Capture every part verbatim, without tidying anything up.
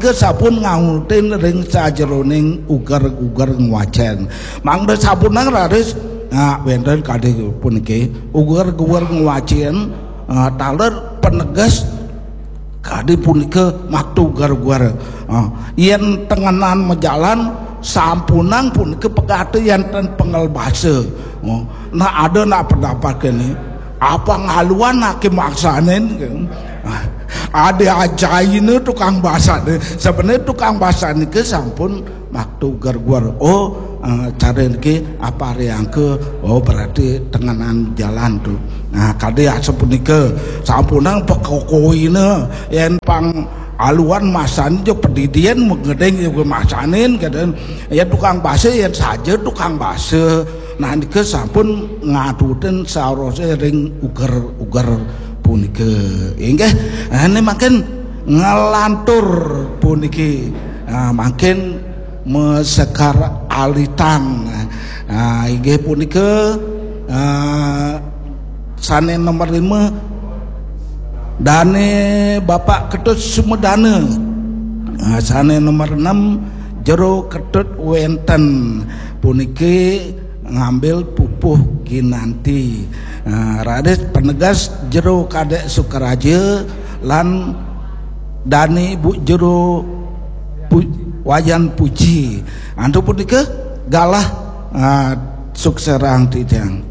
Ke sampun ngautin ring sajeroning uger-uger ngwacen. Mangda sampun nang raris, nah, wenten kadi puniki uger-uger ngwacen, ah, taler peneges kadi punika makta uger-uger. Ah, yen tengenan majalan sampunang punika pegati enten pengel basa. Oh, nah, ada nak pendapat kene, apa ngaluan ake maksanin? Ah, ada ajaine tukang basane. Sebenarnya tukang basane ke sampun makta uger-uger. Oh, eh, cara niki apa riangka? Oh, berarti tengenan jalan tu. Nah, kadi asapunika sampunang pekokoine yen pang aluan masani jo pedidian mengedeng jo masanin keden. Ya tukang basa yen saja tukang basa. Nah, nika sampun ngatutin saurose ring uger-uger punika. Inggih, ane makin ngelantur puniki. Ah, makin mesekar alitang. Ah, inggih punika, ah, sane nomor lima, dane Bapak Ketut Sumedana. Ah, sane nomor enam, Jero Ketut Wenten. Puniki ngambil pupuh ginanti. Ah, raris penegas Jero Kadek Sukaraja lan dane Bu Jero Pu-, Wayan Puji. Antuk punika galah, ah, sukserang titiang.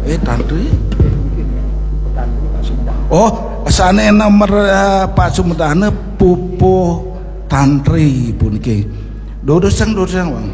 Eh, tantri. Oh, sane nomor, eh, Pak Sumedana pupuh tantri puniki. Durusang, durusang, Bang.